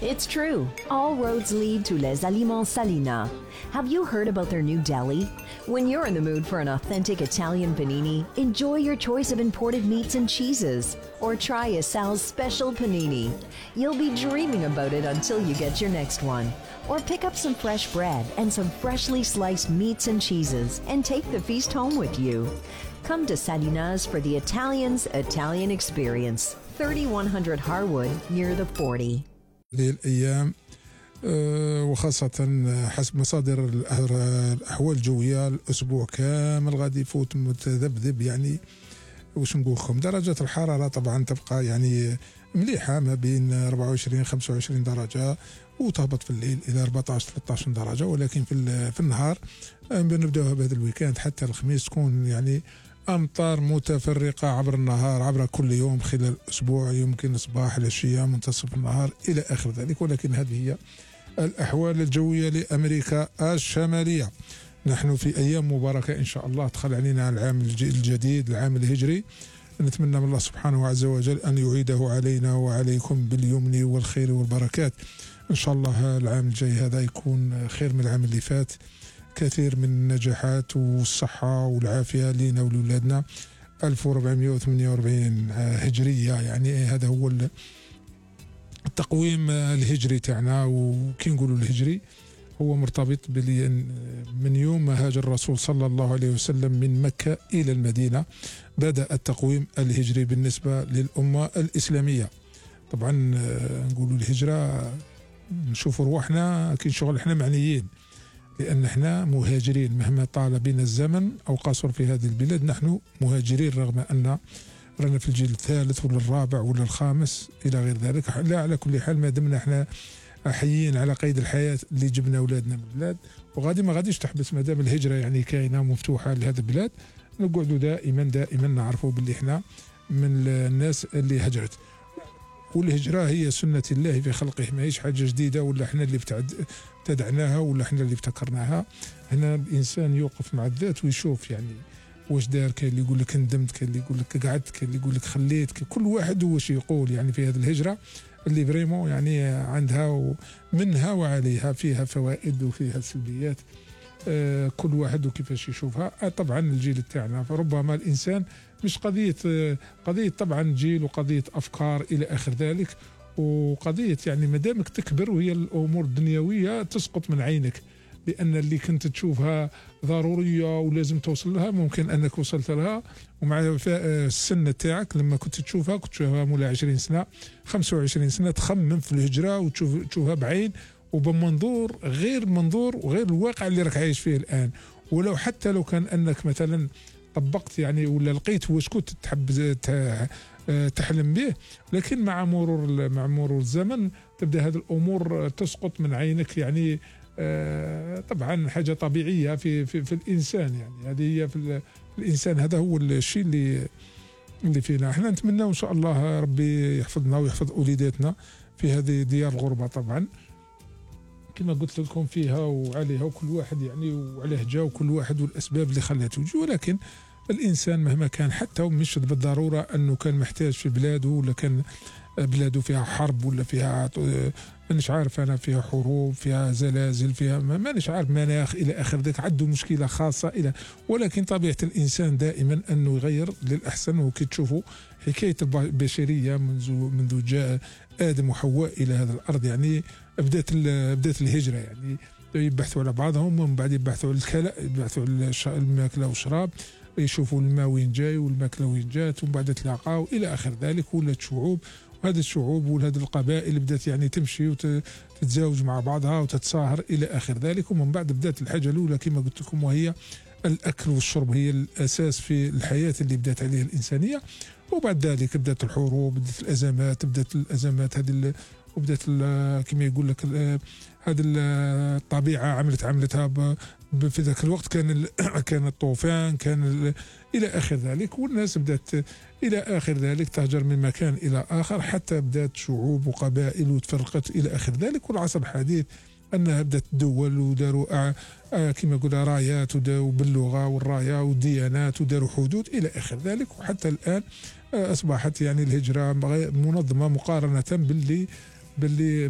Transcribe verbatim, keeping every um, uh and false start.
It's true. All roads lead to Les Aliments Salina. Have you heard about their new deli? When you're in the mood for an authentic Italian panini, enjoy your choice of imported meats and cheeses. Or try a Sal's special panini. You'll be dreaming about it until you get your next one. Or pick up some fresh bread and some freshly sliced meats and cheeses and take the feast home with you. Come to Salina's for the Italians' Italian experience. thirty-one hundred Harwood near the forty. هذه الأيام وخاصة حسب مصادر الأحوال الجوية الأسبوع كامل غادي يفوت متذبذب، يعني واش نقول لكم درجة الحرارة طبعا تبقى يعني مليحة ما بين أربعة وعشرين خمسة وعشرين درجة، وتهبط في الليل إلى أربعطاش ثلاثطاش درجة، ولكن في في النهار بنبداوها بهذا الويكاند حتى الخميس تكون يعني أمطار متفرقة عبر النهار عبر كل يوم خلال الأسبوع، يمكن صباح العشية منتصف النهار إلى آخر ذلك. ولكن هذه هي الأحوال الجوية لأمريكا الشمالية. نحن في أيام مباركة إن شاء الله دخل علينا العام الجديد العام الهجري، نتمنى من الله سبحانه عز وجل أن يعيده علينا وعليكم باليمن والخير والبركات. إن شاء الله العام الجاي هذا يكون خير من العام اللي فات، كثير من النجاحات والصحة والعافية لنا ولولادنا. ألف وأربعمائة وثمانية وأربعين هجرية، يعني هذا هو التقويم الهجري تاعنا، وكي نقولوا الهجري هو مرتبط من يوم ما هاجر الرسول صلى الله عليه وسلم من مكة إلى المدينة بدأ التقويم الهجري بالنسبة للأمة الإسلامية. طبعا نقولوا الهجرة نشوفوا رواحنا كي شغل احنا معنيين، لأن احنا مهاجرين مهما طال بنا الزمن أو قصر في هذه البلاد، نحن مهاجرين رغم أن رانا في الجيل الثالث ولا الرابع ولا الخامس إلى غير ذلك. لا، على كل حال ما دمنا احنا حيين على قيد الحياة اللي جبنا أولادنا من البلاد، وغادي ما غاديش تحبس ما دام الهجرة يعني كاينة مفتوحة لهذه البلاد، نقعدوا دائما دائما نعرفوا باللي احنا من الناس اللي هجرت. والهجرة هي سنة الله في خلقه، ما هيش حاجة جديدة ولا احنا اللي ابتدعناها ولا احنا اللي ابتكرناها. هنا الإنسان يوقف مع الذات ويشوف يعني واش دار، كاين اللي يقول لك ندمت، كاين اللي يقول لك قعدت، كاين اللي يقول لك خليت، كل واحد واش يقول يعني في هذه الهجرة اللي بريمو يعني عندها منها وعليها، فيها فوائد وفيها سلبيات، آه كل واحد وكيفاش يشوفها. آه طبعا الجيل تاعنا فربما الإنسان مش قضية آه قضية طبعا جيل وقضية أفكار إلى آخر ذلك، وقضية يعني مدامك تكبر وهي الأمور الدنيوية تسقط من عينك، لأن اللي كنت تشوفها ضرورية ولازم توصل لها ممكن أنك وصلت لها، ومع السن تاعك لما كنت تشوفها كنت تشوفها مولا عشرين سنة خمسة وعشرين سنة تخمم في الهجرة وتشوف تشوفها بعين وبمنظور غير منظور وغير الواقع اللي راك عايش فيه الآن. ولو حتى لو كان أنك مثلا طبقت يعني ولا لقيت واش كنت تحب تحلم به، لكن مع مرور مع مرور الزمن تبدأ هذه الأمور تسقط من عينك، يعني آه طبعا حاجة طبيعية في, في, في الإنسان، يعني هذه هي في الإنسان، هذا هو الشيء اللي اللي فينا. احنا نتمنى إن شاء الله ربي يحفظنا ويحفظ أوليداتنا في هذه ديار الغربة. طبعا كما قلت لكم فيها وعليها وكل واحد يعني وعليه جا وكل واحد والأسباب اللي خلته يجي، ولكن الإنسان مهما كان حتى مش بالضرورة أنه كان محتاج في بلاده ولا كان بلاده فيها حرب ولا فيها مانيش عارف أنا فيها حروب فيها زلازل فيها مانيش عارف مناخ إلى آخر ذلك، عنده مشكلة خاصة إلى، ولكن طبيعة الإنسان دائما أنه يغير للأحسن. وكي تشوفوا حكاية البشرية منذ منذ جاء آدم وحواء إلى هذا الأرض يعني بدأت بدأت الهجرة، يعني يبحثوا على بعضهم ومن بعد يبحثوا على الكلاء، يبحثوا على الماكلة والشراب، يشوفوا الماء وين جاي والماكلة وين جات، ومن بعد تلاقاو إلى آخر ذلك. ولات شعوب، وهذه الشعوب وهذه القبائل بدأت يعني تمشي وتتزاوج مع بعضها وتتصاهر إلى آخر ذلك. ومن بعد بدأت الحاجة الأولى كما قلت لكم وهي الأكل والشرب، هي الأساس في الحياة اللي بدأت عليها الإنسانية. وبعد ذلك بدأت الحروب، بدأت الأزمات، بدأت الأزمات هذه وبدأت كما يقول لك هذه الطبيعة عملت عملتها في ذاك الوقت، كان كان الطوفان كان إلى آخر ذلك، والناس بدأت إلى آخر ذلك تهجر من مكان إلى آخر حتى بدأت شعوب وقبائل وتفرقت إلى آخر ذلك. والعصر الحديث أنها بدأت دول وداروا كما قلنا رايات وداروا باللغة والراية والديانات وداروا حدود إلى آخر ذلك. وحتى الآن أصبحت يعني الهجرة منظمة مقارنة باللي باللي